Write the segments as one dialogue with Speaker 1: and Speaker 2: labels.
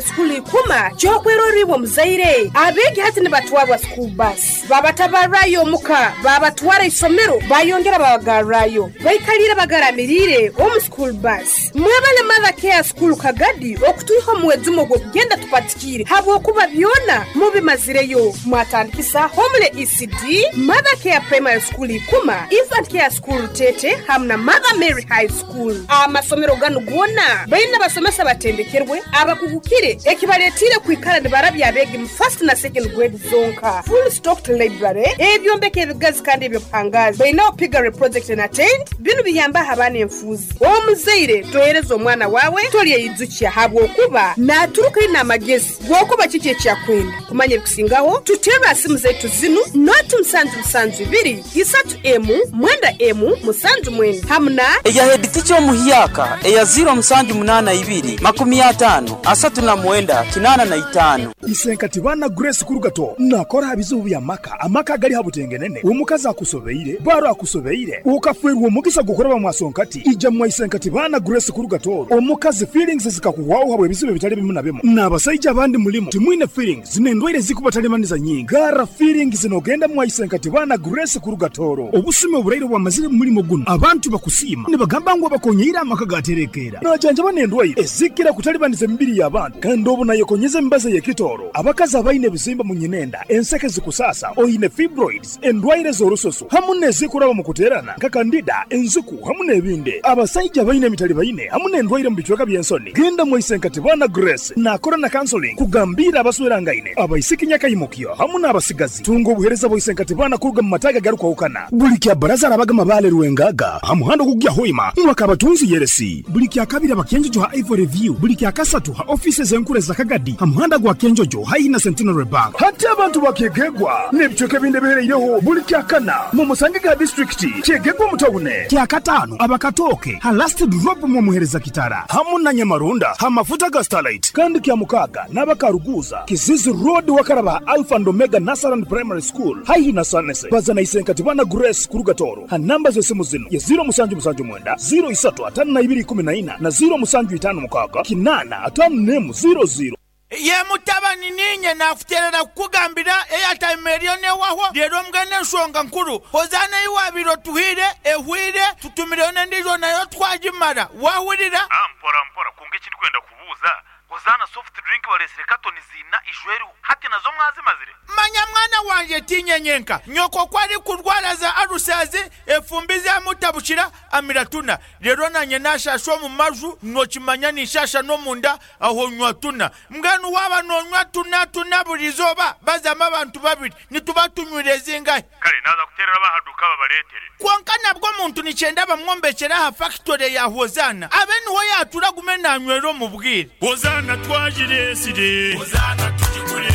Speaker 1: School Ikuma ky'okwerorra iwe omuzaire. Abeegi hati nibatwarwa school bus, babatabarrayo omuka, babatwara isomero, bayongera babagarrayo. Baikaliire bagaramiriire omu school bus. Mwebale Mother Care School Kagadi okutwiha omu mwejumo gw'okugenda tupatikiire habwokuba byona mubimazireyo. Mwatandikisa Homely ECD, Mother Care Primary School Ikuma, Infant Care School Rutete hamu na Mother Mary High School. Amasomero ganu goona baine abasomesa abatendekerwe, abakugukire ekibaletiire kwikara nibarabya abeegi mu first na second grade zonka. Full stocked library, ebyombeko ebigazi kandi eby'obuhangaazi. Baineho piggery project na tent, binu biyambaho abaana enfuuzi. Omuzaire tohereza omwana waawe tolyeyijukya habwokuba naaturuka aine amagezi g'okuba kiki eki akwenda. Kumanya ebikusingaho, tuterre ha simu zaitu zinu, noti musanju musanju ibiri, isatu emu, mwenda emu, musanju mwenda hamu na.
Speaker 2: Eya headteacher omuhyaka eya ziiro musanju munaana ibiri, makumi ataano, asatu na mwenda, kinaana na itaano.
Speaker 3: Isenkati baana Grace Kurugato nakora aha bizibu by'amaka, amaka agali ha butengenene, omukazi akusobeire, baro akusobeire, okafeerwa omugisa gw'okuraba mwasonkati, ija mwa Isenkati baana Grace Kurugato, omukazi feelings zikakuhwaho habw'ebizibu ebitali bimu na bimu, n'abasaija abandi mulimu timwine feelings n'endwaire ezikubatalibaniza nyingi, garra feelings nogenda mwa Isenkati baana Grace Kurugatoro. Obusumi oburaire obwamazire mu mulimo gunu, abantu bakusiima nibagamba ngu abakonyeire amaka gaterekeera. Najanjaba n'endwaire ezikira kutalibaniza emibiri y'abantu kandi obu nayekonyeza emibazi ey'ekitooro. Abakazi abaine ebizimba mu nyinenda, enseke zikusaasa, oine fibroids, endwaire z'orususu hamu n'ezikuraba mu kuteerana nka kandida, enziku hamu n'ebindi. Abasaija abaine emitalibaine hamu n'endwaire mu bicweka by'ensoni, genda mwa Isenkatibana Grace naakora na counseling kugambiira abaswerangaine, abaisiki nyakaimukyo hamu n'abasigazi. Tunga obuheereza bwa Isenkatibana kuruga mu mataagi agarukwahukana. Buli kya Baraza arabaga Mabaale Rwengaga ha muhanda ogukugya Hoima mwaka Kabatunzi Yeresi. Buli kya Kabiri aba Kyenjojo ha Ivory View. Buli kya Kasatu ha ofiisi ez'enkuru eza Kagadi ha muhanda gwa Kyenjojo haihi na Centenary Bank. Hati abantu ba Kyegegwa n'ebicweka ebindi ebihereireho buli kya Kana mumusange ga disiturikiti Kyegegwa omu tawune. Kya Kataano aba Katooke ha Last Drop mwomuhereza Kitara hamu na Nyamarunda ha mafuta ga Starlight. Kandi kya Mukaaga n'aba Karuguuza, Kizizi Road wakaraba ha Alpha and Omega Nursery and Primary School haihi na Sanese. Baza na Isenkatibana Grace kuruga Tooro ha namba z'esimu zinu ye ziiro musanju musanju mwenda, ziiro isatu ataano na ibiri ikumi na ina na ziiro musanju itaano mukaaga kinaana ataano n'emu ziiro ziiro.
Speaker 4: Ye mutabani, niinye naakuteerera kukugambira eyataima eriyo n'ehwaho. Reero mbwenu enshonga nkuru, Hozaana ei waabaire otuhaire ehwaire, tutumireyo n'endiijo nayo twagimara. Waahurira?
Speaker 5: Mpora mpora, kwonka eki ndikwenda kubuuza, Hozaana soft drink bareetsire katoni ziina ijo eriho, hati nazo mwazimazire?
Speaker 4: Manya mwana wangye, tiinye nyenka. Nyoko ku arikurwara za alusazi, efumbi zaamutabukira, amira tuna. Reero naanye naashaasha omu maju, nookimanya ninshaasha n'omunda, aho nywa tuna. Mbwenu waaba noonywa tuna tuna buri izooba, bazamu abantu babiri, nituba tunywire zingahi?
Speaker 5: Kare naaza kuteerera ab'aha duuka babareetere.
Speaker 4: Kwonka nabwo omuntu nikyenda bamwombekyere aha fakitore ya Hozaana, abe niho yaatuura agume naanywera omu bwire.
Speaker 6: Hozaana twagireetsire. Hozaana tugigure.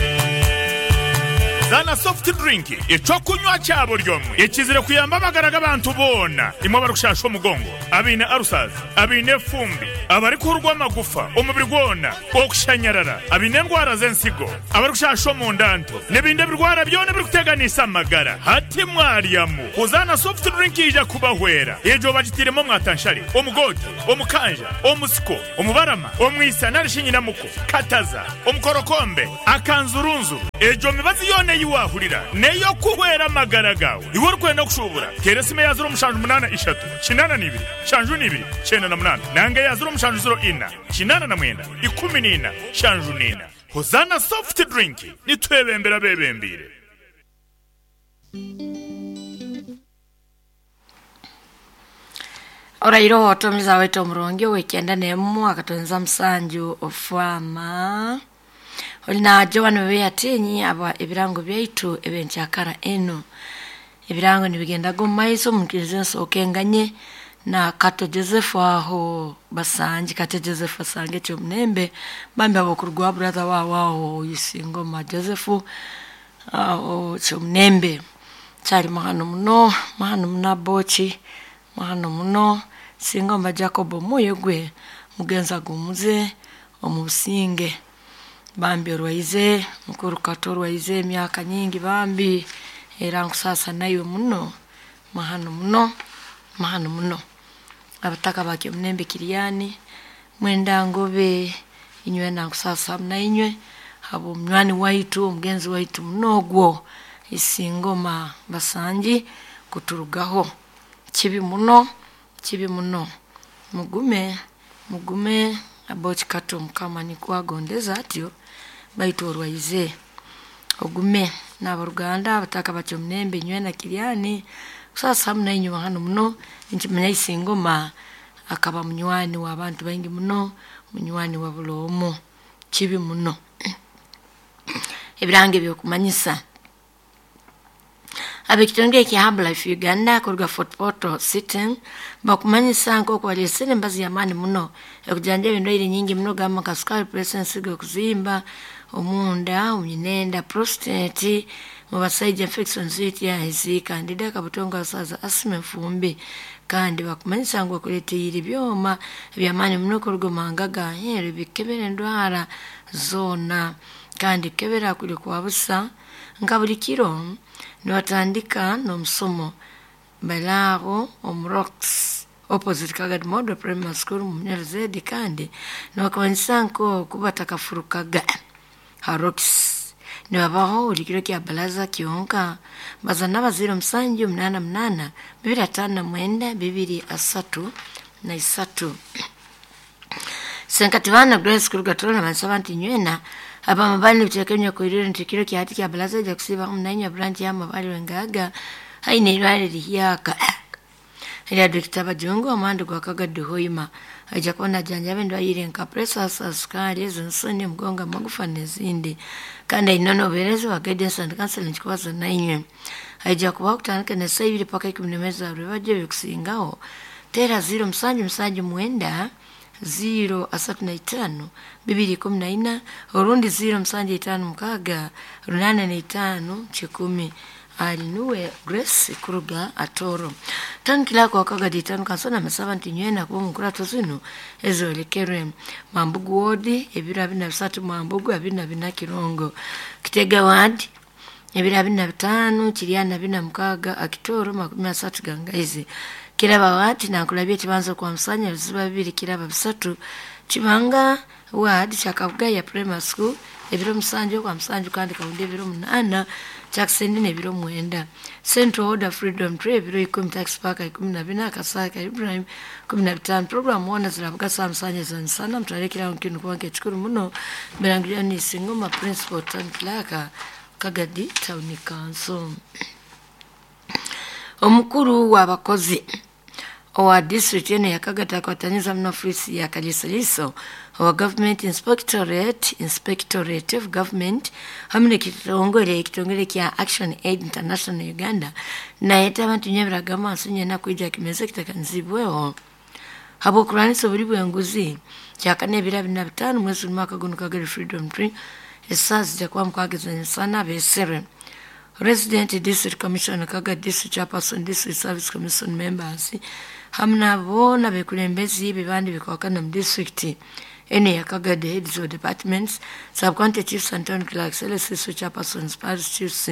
Speaker 6: Hozaana soft drink, eky'okunywa kya buri omwe ekizire kuyamba amagara g'abantu boona, imwe abarikushaasha omugongo, abaine ulcers, abaine efumbi, abarikuhurwa amagufa omubiri gwona, okushanyarara, abaine endwara z'ensigo, abarikushasha omunda nto, n'ebindi ebirwara byona ebirikuteganisa amagara. Hati mwaryamu Hozaana soft drink yaija kubahwera. Egyo bagitairemu omwatanshare, omugoote, omukanja, omusiko, omubarama, omwisa nari shi nyinamuko, kataza, omukorokombe, akanzurunzuru. Egyo mibazi yoona ei waahurira n'ey'okuhwera amagara gaawe. Iwe orikwenda kushuubura, teera esimu eya ziro mushanju munaana ishatu, kinaana na ibiri, nshanju na ibiri, kyenda na munaana nanga eya ziro mushanju ziro ina, 89 14 74. Hozaana Soft Drink, nitwebembera abeebembeire.
Speaker 7: Oraire otomiza waitu omurungi ow'ekyenda n'emu akatonza musanju ofwama oli na Joan Weyatinyi aba ebirango byaitu ebyenkyakara enu. Ebirango nibigendaga omu maiso omunkiriza ensooka enganye na Kato Joseph aho Basangi Kato Joseph Basangi ekyomunembe bambi abokurugwa brother wawe aho Isingoma Joseph aho Kyomunembe kyali mahano muno mahano muno Aboki mahano muno Singoma Jacob omwoyo gwe mugenzi agumuze omu businge bambi orwaize mukuru Kato orwaize emyaka nyingi bambi era nkusaasa naiwe muno mahano muno mahano muno. Abataka ba Kyomunembe Kiriani, Mwenda Ngobe, Inywe nankusasa na inywe habo munywani waitu omugenzi waitu munogwo Isingoma Basangi kuturugaho. Kibi muno, kibi muno. Mugume, mugume abokikato Mukama nikwagondeza atyo baitu orwaize. Ogume n'abaruganda abataka batyo munembe inywe na Kiryani kusasa hamwe nainywe hano muno. Nkimanya Isingoma akaba munywani w'abantu baingi muno, munywani wa bulomo. Kibi muno. Ebirango ebyokumanyisa abekitongole kya Herbalife Uganda kuruga Fort Portal City bakumanyisa nk'oku baleesere embazi y'amaani muno ekujanjaba endwaire nyingi muno gamba nka sukari, pressure, ensigo okuzimba omunda, omunyinenda, prostate, mu basaija infections UTIs, candida, kabutongo, abasaza, asthma, enfumbi. Kandi bakumanyisa ngu bakuleeteire ebyoma eby'amaani muno kuruga omu mahanga ga aheeru bikebera endwara zoona kandi kukebera kuri kwa busa. Nka buli kiro nibatandika n'omusomo balaaho omu Rocks opposite Kagadi Model Primary School mu Munyaruzedi kandi nibakumanyisa nk'oku batakafurukaga ha Rocks. Nibabaho buli kiro kya baraza kyonka baza n'abazaire 7 8 8 2 5 9 2 3 na 3. Senkati bana Grace kuruga Tororo bansaba nti nywena abamabali nibiteeka kwirire nti kiro kya hati kya baraza ija kusiiba munanya branch y'amabali wengaga haine irwale lihyaka erya Dr. Bajungu omwandi gwa Kagadi Hoima aija kuba najanjaba endwaire nka pressure, sukari, ez'ensoni, omugongo, amagufa n'ezindi. Kandi aine n'obuheereza bwa guidance and counseling kubaza nainywe. Aija kubaho kutandika n'esaaha 2 paka 11 za rwebagyo ebikusingaho. Teera 0 7 7 9 0 35 2 14 orundi 0 7 5 6 8 5 10. Alinuwe Grace kuruga Atoro. Tankila kwa Kagadi tano kansona masaba nti nywena kuba mukurato zino ezolekerwe Mambugu wodi ebiro 23 Mambugu 24 Kirongo Kitega ward ebiro 25 Kiryana 46 Akitoro 30 Gangaizi Kiraba wadi nankulabye kibanza kwa Musanya biziba 2 Kiraba 3 Kibanga wadi Kyakabugaya Primary School ebiro 7 kwa Musanju kandi kaundi ebiro 8 Jackson ebiro 9 Central Order Freedom Tree ebiro 10 Tax Park 14 Kasaka Ibrahim 15 program wona zirabuga saa Musanya zansana mutwalekera nkinu kubanka ekikuru muno Mirangirira ni Isingoma Principal Town Clerk Kagadi Town Council. Omukuru w'abakozi owa district eno ya Kagadi akwatanyiza muno ofisi ya Kalisaliso owa Government Inspectorate of Government hamwe n'ekitongole kya Action Aid International Uganda nayeta abantu nyebiraga amaaso nyena kwija kimeze kitakanizibweho habw'okurwanisa oburi bw'enguzi kyakana ebiro 25 mwezi mwaka guno Kagadi Freedom Tree esaaha zijja kuba mukageza ensana beesere. Resident District Commissioner Kagadi District Chairperson District Service Commission members hamwe nabo bekulembezi bibandi bikwakana mu district ene ya Kagadi heads of departments, sub-county chiefs and town clerks, LSS chairpersons, parish chiefs,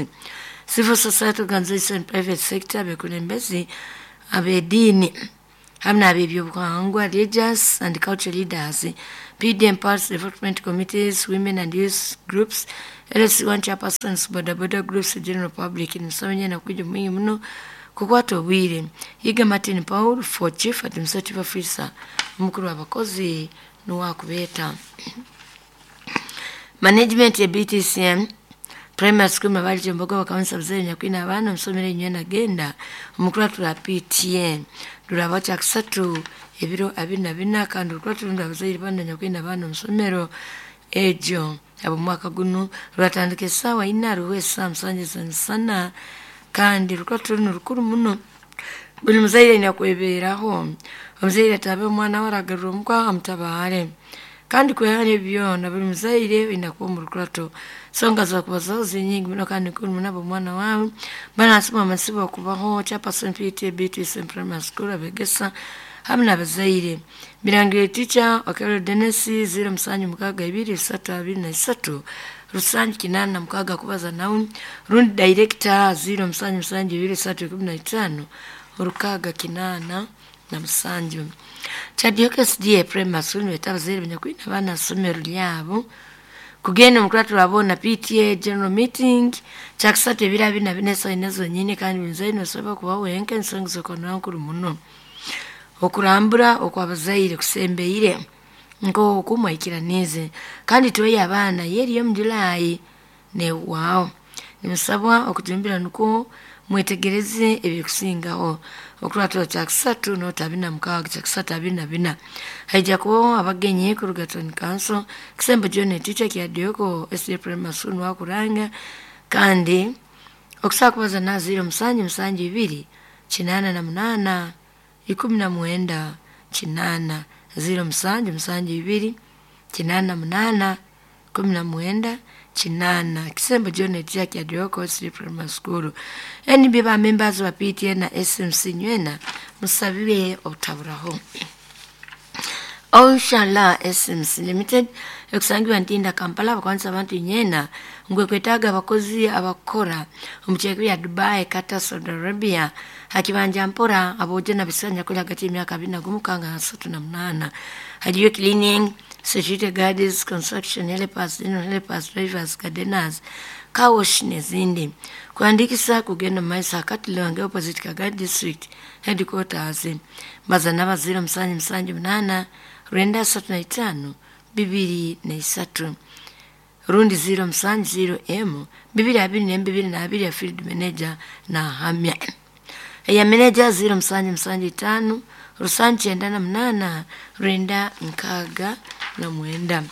Speaker 7: civil society organization, private sector, bekulembezi ab'eddiini hamwe n'ab'ebyobuhangwa, religious and cultural leaders, PDM parts development committees, women and youth groups, LC1 chairpersons, boda boda groups, general public, nisomenya na kuja mwingi muno kukwata obwire. Yiga Martin Paul for Chief Administrative Officer, omukuru w'abakozi nuwakubeeta. Management ya BTCM Primary School mabali kyombogo bakamanyisa abazaire nyakwina abaana omusomero enywe nagenda omukuru atura PTN ruraba kyakusatu ebiro 24 kandi orukura turunda abazaire bana nyakwina abaana omusomero egyo abo mwaka guno rwatandika esaawa 4 ruhwa esaawa 7 z'emisana kandi rukura turunu rukuru muno. Buli muzaire aine kwebeeraho omuzaire atabe omwana we aragarura omukwaha amutabaare kandi kwehara ebyona buli muzaire oine kuba omu rukurato songa zakubazaho zinyingi muno kandi nkuru muno abo omwana wawe banasima amasibo okubaho chairperson PTA BTC Primary School abegesa hamwe n'abazaire. Birangire teacher Okello Dennis 0 7 6 2 3 2 3 Rusangi 86 kubaza nawe rundi director 0 7 7 2 3 15 6 8 na musanju. Kyadyoka SDA Primary School nibeeta abazaire banyakwine abaana ha ssomero lyabo kugenda omu kuratu boona PTA General Meeting kyakusatu ebiro abiri na bina esaaha ina zonyini, kandi buli muzaire nosobora kuba wenka ensonga z'okuba nkuru muno. Okurambura okw'abazaire kusembeire nk'oku mwikiraniize, kandi tweyo abaana yeri omu Julai nehwaho. Nimusabwa okujumbira nukwo mwetegereze ebikusingaho. Okuratura kyakusatu noti abiri na mukaaga kyakusatu abiri na bina. Haija kubaho abagenyi kuruga Town Council, Kisembo John teacher Kyadyoka SDA Primary School Nwakuranga, kandi okusobola kubaza na 0772 88 19 8 0772 88 19 8. Kisembo John teacher Kyadyoka SDA Primary School. NB ba members wa PTA na SMC nywena musabire obutaburaho. Oshala SMC Limited ekusangibwa Ntinda Kampala, bakwanisa abantu nyena ngwe kwetaaga abakozi abakora omu kyeko bya Dubai, Qatar, Saudi Arabia hakibanja mpora abojo na bisanya kuli hagati y'emyaka 21 kanga 38. Haliyo cleaning, security guards, construction helpers, general helpers, drivers, gardeners, car wash n'ezindi. Kuandikisa kugenda mu maiso akati Lwanga opposite Kagadi District Headquarters. Baza naba 0778 935 223 rundi 070 M 222 ya field manager na hamya ya manager 0775 798 969.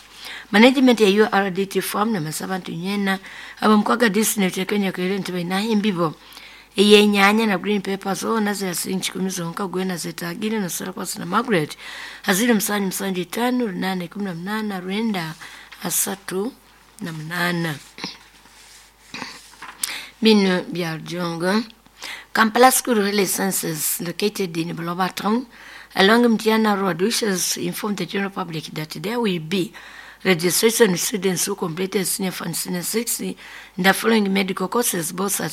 Speaker 7: Management ya URDT farm na masabantu nyena abamkwaga district Kenya kwere nti baina imbibo eyenyanya na green peppers zona zira silingi 10 zonka gwena zetagire na sala kwa na Margaret haziri 775 818 938. Bino bya Rujongo. Kampala School of Health Sciences located in Buloba Town along Mtiana Road wishes to inform the general public that there will be registration of students who completed senior 5 and senior 6 in the following medical courses, both at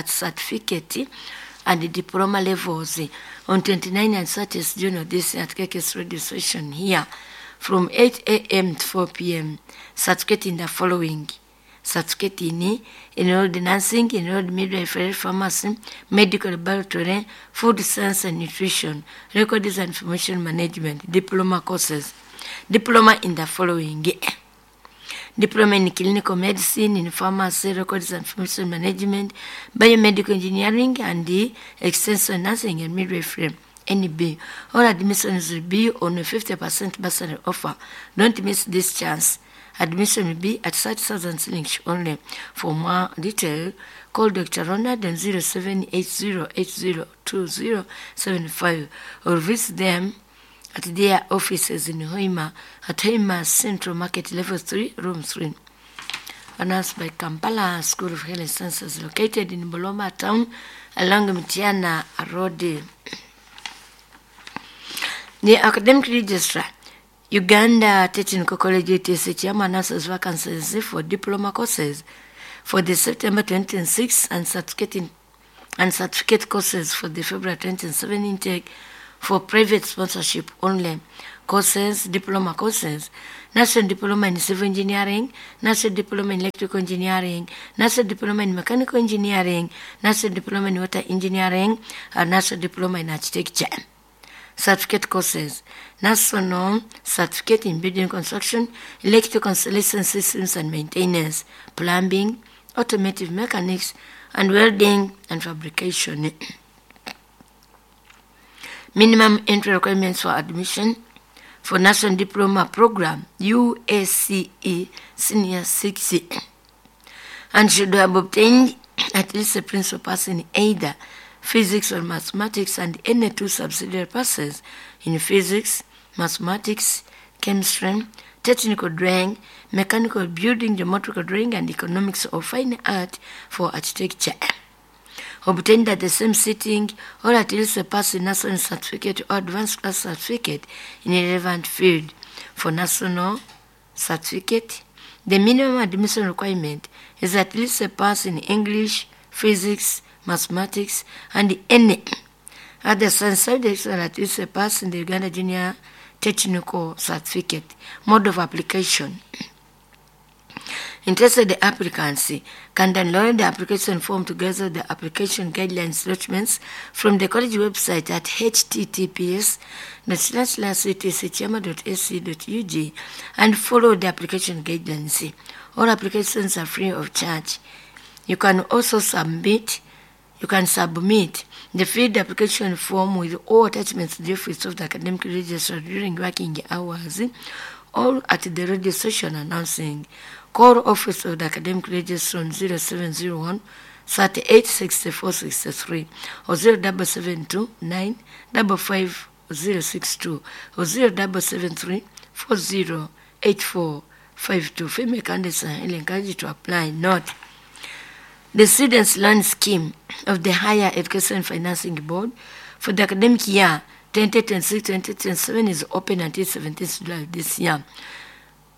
Speaker 7: certificate and diploma levels on 29 and 30 June of this year at KKS radio station here from 8 a.m. to 4 p.m. Certificate in the following: certificate in enrolled nursing, enrolled midwifery, pharmacy, medical laboratory, food science and nutrition, records and information management, diploma courses. Diploma in the following: diploma in clinical medicine, in pharmacy, records and information management, biomedical engineering, and the extension nursing and midwifery. NB. All admissions will be on a 50% bursary offer. Don't miss this chance. Admission will be at 30,000 shillings only. For more detail, call Dr. Ronald on 0780802075 or visit them at their offices in Hoima at Hoima Central Market Level 3, Room 3. Announced by Kampala School of Health Sciences located in Boloma Town along Mtiana Road. The Academic Registrar, Uganda Technical College UTC Chairman announces vacancies for diploma courses for the September 2026 and certificate courses for the February 2027 intake for private sponsorship only. Courses, diploma courses, National Diploma in Civil Engineering, National Diploma in Electrical Engineering, National Diploma in Mechanical Engineering, National Diploma in Water Engineering, and National Diploma in Architecture. Certificate courses, National Certificate in Building Construction, Electrical Installation Systems and Maintenance, Plumbing, Automotive Mechanics, and Welding and Fabrication. Minimum entry requirements for admission for National Diploma Program, UACE Senior 6, and should have obtained at least a principal pass in either physics or mathematics and any two subsidiary passes in physics, mathematics, chemistry, technical drawing, mechanical building, geometrical drawing, and economics or fine art for architecture. Obtained at the same sitting, or at least a pass in national certificate or advanced class certificate in a relevant field. For national certificate, the minimum admission requirement is at least a pass in English, physics, mathematics, and any Other science subjects are at least a pass in the Uganda Junior Technical Certificate. Mode of application. Interested applicants can download the application form together with the application guidelines documents from the college website at https //ctcchama.ac.ug and follow the application guidelines. All applications are free of charge. You can also submit the filled application form with all attachments to the office of the academic registrar during working hours or at the radio station announcing. Call office of the academic registrar on 0701 38 64 63 or 0772 9 55 062 or 0773 40 84 52. Female candidates are encouraged to apply. Note: the Students' Loan Scheme of the Higher Education Financing Board for the academic year 2026-2027 is open until 17th July this year.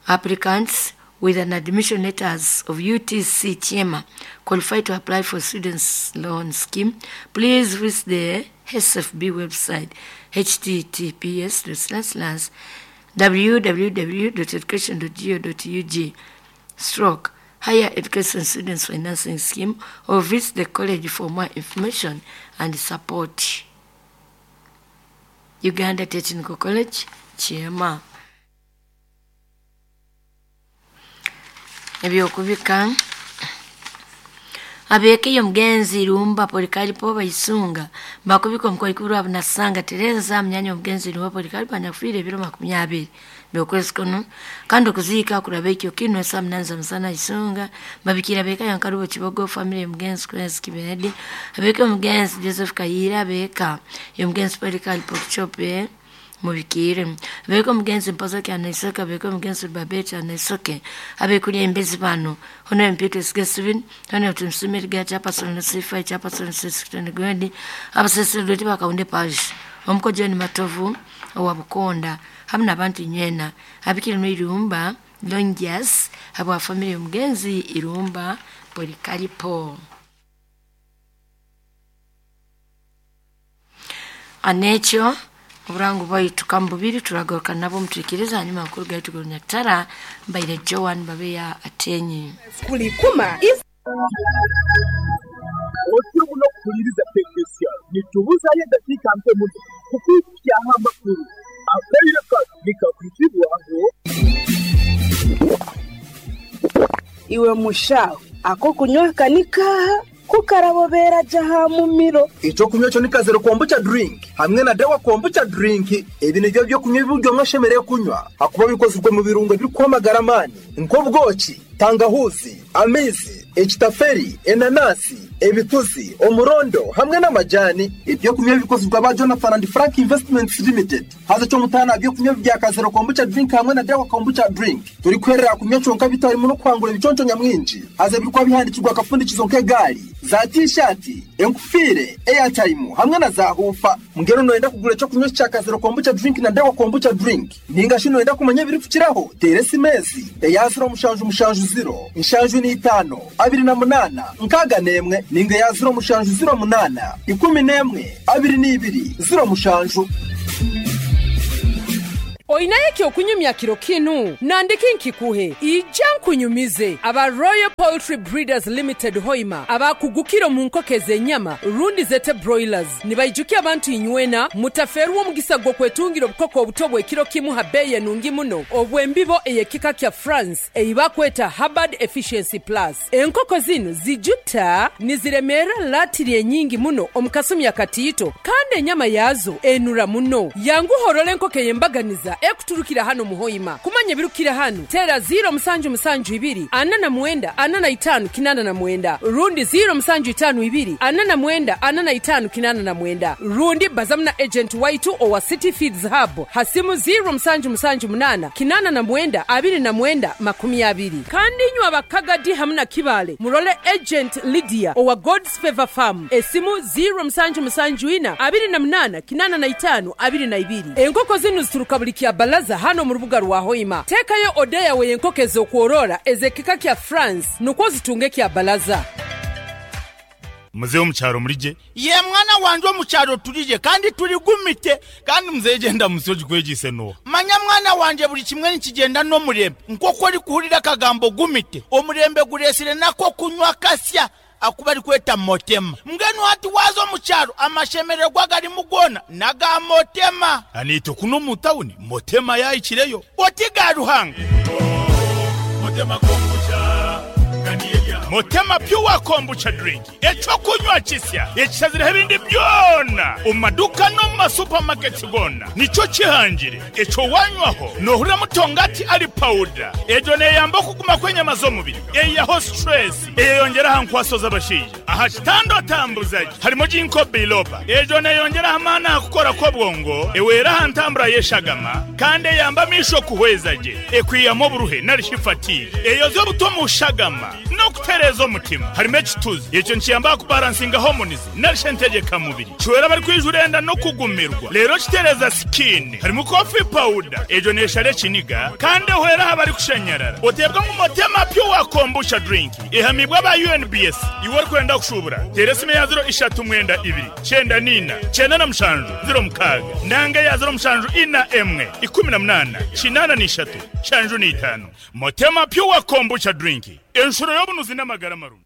Speaker 7: Applicants with an admission letters of UTC Chema qualify to apply for Students' Loan Scheme. Please visit the SFB website https www.education.go.ug stroke Higher Education Students Financing Scheme or visit the college for more information and support. Uganda Technical College, Chema. Ebyokubika abeekeye omugenzi Irumba Polikaripo baisunga bakubika omukoikuru abunasanga Tereza munyanya omugenzi Irumba Polikaripo anyakufiire ebiro 20 byokwezi kuno, kandi okuziika kuraba ekyo kino esaa 8 za musana isunga babikira beeka yankarubo Kibogo family omugenzi Kwezi Kibedi abeeka omugenzi Joseph Kayira abeeka omugenzi Polikaripo Kichope mubikire abeeka omugenzi Mpoza Kyanaisoke abeeka omugenzi Babeti Anaisoke abeekulya embezi bano Honorable Peter Sgesivin Honorable Tumsimiri Gacha Chairperson C5 Chairperson C6 Gwendi abasaserdooti bakawunde parish omuko John Matovu owa Bukonda hamu n'abantu nywena abikire no Irumba Longias abo family omugenzi Irumba Polikaripo. Anekyo oburango bwaitu kambubiri turagaruka nabo mutuikiriza hanyuma amakuru gaitu gorunyakitara mbaire Joan Babeya Atenyi
Speaker 1: kulikuma
Speaker 8: otyo muno kuhuliriza tekinisiya nitubuzayo eddakiika mpe muno kukwikyaho amakuru akaire kano nikakwitibwaho.
Speaker 1: Iwe mushaho ako kunywa kanika kukarabobera jaha mumiro.
Speaker 8: Ekyokunywa kyo ni kazero kombucha drink hamwe na dawa kombucha drink. Ebi nibyo byokunywa ebiryo mwashemereire kunywa hakuba bikozirwe mu birungo ebirikwamagara amaani nk'obwoki, tangahuzi, amaizi, ekitaferi, enanasi, ebituzi, omurondo hamwe n'amajani. Ebyokunywa bikozirwe aba Jonathan and Frank Investments Limited. Haza kyomutaana byokunywa bya kazero kombucha drink hamwe na dawa kombucha drink turikwerera kunywa kyonka bitarimu n'okwangura ebiconco nyamwingi. Haza ebirikuba bihandikirwa akafundikizo nk'egaari za t-shirt, enkufiire, airtime hamwe na za hufa. Mbwenu noyenda kugura ekyokunywa kya kazero kombucha drink na dawa kombucha drink ninga shi noyenda kumanya ebirikukiraho, teera esimesi eya 0770 75 28 61 ninga eya 0708 11 22 07.
Speaker 1: Oinayo ekyokunyumya kiro kinu nandiki nkikuhe ija nkunyumize aba Royal Poultry Breeders Limited Hoima abakugukira mu nkoko ez'enyama rundi zete broilers nibaijukia abantu inywena mutaferwa omugisa gw'okwetungira obukoko obuto bw'ekiro kimu ha beeyi enungi muno obw'embibo ey'ekika kya France eibakweta Hubbard Efficiency Plus. Enkoko zinu zijuta niziremeera latiri enyingi muno omu kasumi akatiito kandi enyama yaazo enura muno. Yanguhorora enkoko ey'embaganiza ekuturukira hano muhoima. Kumanya ebirukira hano tera 0772 49 45 89 rundi 0752 49 45 89 rundi bazamuna agent waitu owa City Feeds Hub hasimu 0778 89 29 20. Kandi inywe abakagadi hamuna kibale murole agent Lydia owa God's Favor Farm esimu 0774 28 85 22. Enkoko zinu zituruka buli kya balaza hano mu rubuga rwa Hoima. Tekayo odeya we enkoko ez'okworora ez'ekika kya France nukwo zitunge kya balaza.
Speaker 6: Muzehe omukyaro murije?
Speaker 4: Ye mwana wanje, omukyaro turije kandi turigumite.
Speaker 6: Kandi muzehe genda musi ogikwegise noha?
Speaker 4: Manya mwana wanje, buli kimwe nikigenda n'omurembe. Nk'oku orikuhurira akagambo gumite, omurembe guresire nako kunywa kasya aku barikweta motema. Mbwenu hati waza omu kyaro, amashemererwa garimu goona n'aga motema.
Speaker 6: Aniitwe kuno omu tawuni motema yahikireyo.
Speaker 4: Oti ga Ruhanga.
Speaker 6: Motema Pure Kombucha Drink, ekyokunywa kisya ekishazireho ebindi byona omu maduka n'omu masupamaketi goona, nikyo kihangire. Ekyo wanywaho nohurira mutongati ali pawuda. Egyo neyamba okuguma kw'enyama z'omubiri, eyihaho stress, eyeyongyera aha nkwaso z'abashaija aha kitanda otambuzagi. Harimo ginkgo biloba, egyo neyongyera aha maani aha kukora kw'obwongo, ewera aha ntambura y'eshagama, kandi eyamba amaisho kuhweza gye, ekwihamu oburuhe narishi fatigue, eyoza obuto mu shagama n'okutereeza omutima. Harimo ekituzi, ekyo nikiyamba aha kubaransinga hormones narishi entegyekamubiri, kiwera abarikwijura enda n'okugumirwa, reero kitereeza skin. Harimu coffee powder, egyo neeshara ekiniga kandi ehwera aha barikushanyarara. Oteebwa ngu Motema Pure Kombucha Drink ehamibwe aba UNBS. Iwe orikwenda kushuubura, teera esimu eya ziro ishatu mwenda ibiri kyenda niina kyenda na mushanju ziro mukaaga nanga eya ziro mushanju ina emwe ikumi na munaana kinaana na ishatu nshanju na itaano. Motema Pure Kombucha Drink, enshuro y'obunuzi n'amagara marungi.